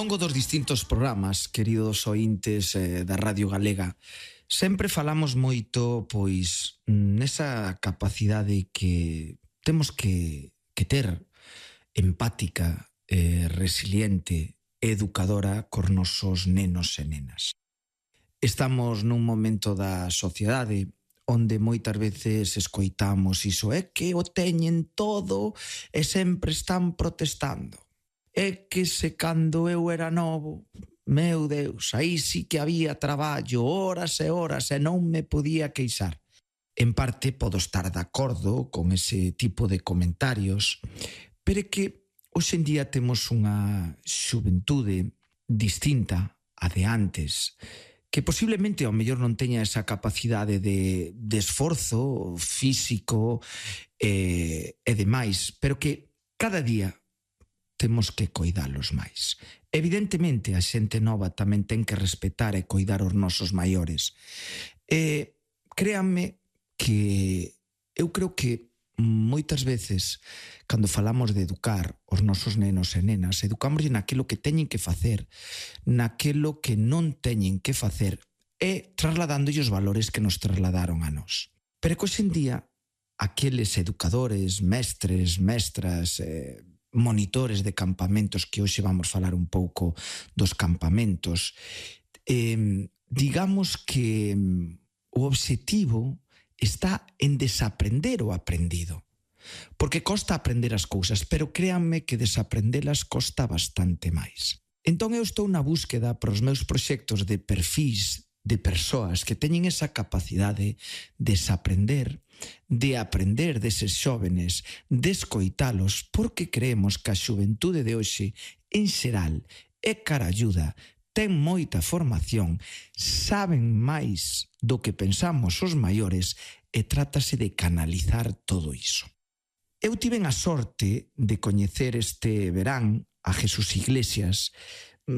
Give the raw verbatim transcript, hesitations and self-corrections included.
longo dos distintos programas, queridos ointes eh, da Radio Galega, sempre falamos moito, pois, nesa capacidade que temos que, que ter empática, eh, resiliente, educadora cos nosos nenos e nenas. Estamos nun momento da sociedade onde moitas veces escoitamos iso, é que o teñen todo e sempre están protestando. É que se cando eu era novo, meu Deus, aí sí que había traballo, horas e horas, e non me podía queixar. En parte podo estar de acordo con ese tipo de comentarios, pero é que hoxe en día temos unha xuventude distinta a de antes, que posiblemente ao mellor non teña esa capacidade de, de esforzo físico e, e demais, pero que cada día temos que coidalos máis. Evidentemente, a xente nova tamén ten que respetar e coidar os nosos maiores. E créanme que eu creo que moitas veces, cando falamos de educar os nosos nenos e nenas, educámoslle naquilo que teñen que facer, naquilo que non teñen que facer, e trasladándolle os valores que nos trasladaron a nós. Pero que hoxe en día, aqueles educadores, mestres, mestras, eh, monitores de campamentos, que hoxe vamos falar un pouco dos campamentos, eh, digamos que o obxectivo está en desaprender o aprendido. Porque costa aprender as cousas, pero créanme que desaprendelas costa bastante máis. Entón eu estou na búsqueda para os meus proxectos de perfis de persoas que teñen esa capacidade de desaprender, de aprender deses xóvenes, de escoitalos, porque creemos que a xuventude de hoxe, en xeral, é caralluda, ten moita formación, saben máis do que pensamos os maiores e trátase de canalizar todo iso. Eu tiven a sorte de coñecer este verán a Jesús Iglesias,